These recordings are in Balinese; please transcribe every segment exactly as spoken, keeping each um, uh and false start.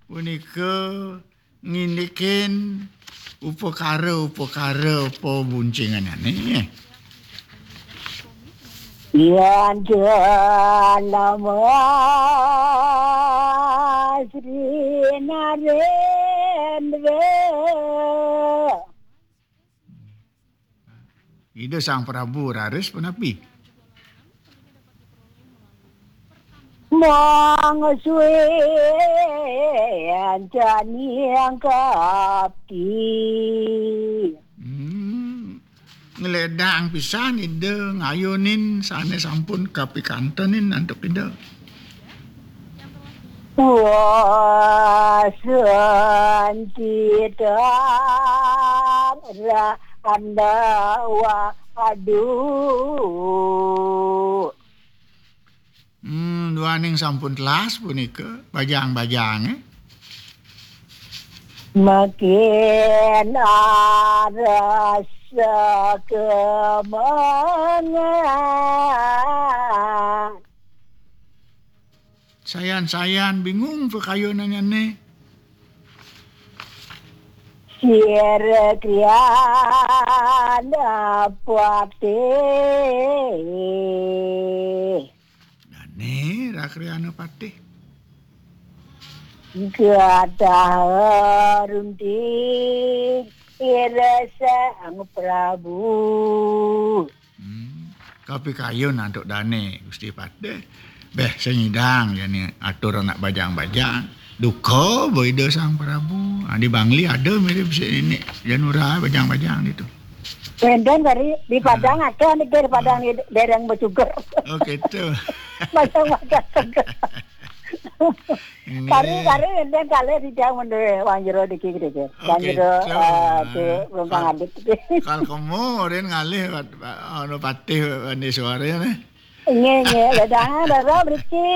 punika ngindikin upakara-upakara pabuncinganane. Yan jalma Sri Narendra. Ida Sang Prabu raris punapi? Mangsuin jani angkati. Hmm. Ngledang pisan Ida ngayunin sane sampun kapikantenin antuk Ida. Wasan kita ra-, anda wa-, aduh. Hmm, duaning sampun telas punika, bajang-bajange. Makin arasa kemengan. Sayan-sayan bingung pakayunannyane. Sira kriana patih. Dane rakriana patih. Gadah runting ira Sang Prabu. Hmm. Kapikayun antuk dane Gusti Patih. Beh, sing nyidang jani atur anak bajang-bajang. Duka ba Ida Sang Prabu. Ah, di Bangli ada mirip si ini Janura bajang-bajang gitu. Wenten kari di Padang akeh niki, di Padang di dereng becuger. Oh, gitu. Bajang-bajang seger. Nggih. Kari, kari wenten kalih titiang mendhe wong jero niki, niki. Wong jero, eh, di Rumpang Alit. Kal kemu rin ngalih, anu, patih wani suara nih. Nggih, nggih. Ledangan, Roro, mriki.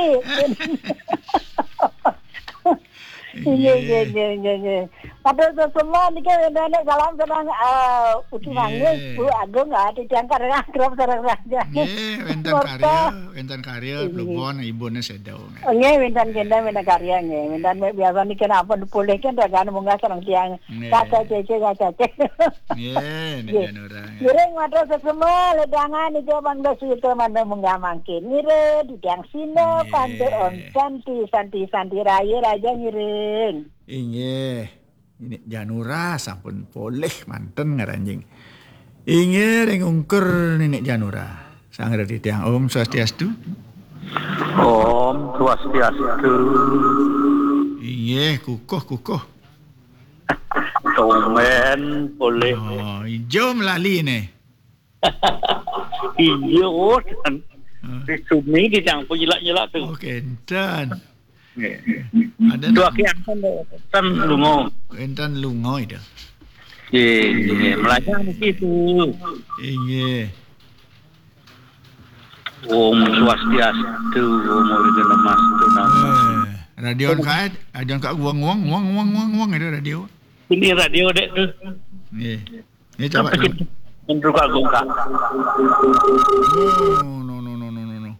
Nggih, nggih, nggih, nggih, nggih. Matur suwun niki wenten salam seneng, eh, Ugi Mangis, Bu Agung, ah, titiang karya akrab sareng raja. Nggih, wenten karya, wenten karya, Plebon, ibune sedo. Nggih, wenten kenten, wenten karya, nggih. Wenten biasa niki ampun pulih kan ragan munggah sareng tiang. Nggih. Kaca cece, kaca cece. Nggih, nggih. Ngiring matur sesama, ledangan niki mangda suwita mangda munggah mangkin. Ngiring, titiang sina, nggih, pantuk om santi, santi, santi raya raja ngiring. Inggih. Nini Janura sampun polih manten ngaranjing. Inggih, ring ungkur Nini Janura. Sang Reti tiang, Om Swastiastu. Om Swastiastu. Inggih, kukuh, kukuh. Tumben polih. Oh, ijo melali ne. Iya, oh, dan di sini di campur nyelak-nyelak tu. Oh, kenten. Nggih. Ada. Dua ki ampun, ten lunga. Enten lunga itu. Nggih, nggih. Melajah niki tu. Inggih. Om Swastiastu, Om Awighnamastu, Namo. Eh, radio angkat, radio angkat, wong, wong, wong, wong, wong, wong, itu radio. Ini radio dek tu. Nggih. Nggih, coba. Sampai dulu. Kita menurut Agung, Kak. No, no, no, no, no, no, no.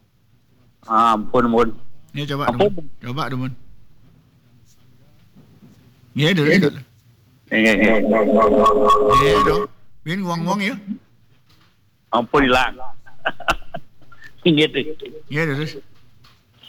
Ampun, Mun. Nggih, coba, ampun. Dumun. Coba, Dumun. Nggih, dulu, dulu. Nggih, nggih. Nggih, dong. Bin wong-wong ya. Ampun, hilang. Nggih, dulu. Nggih, terus.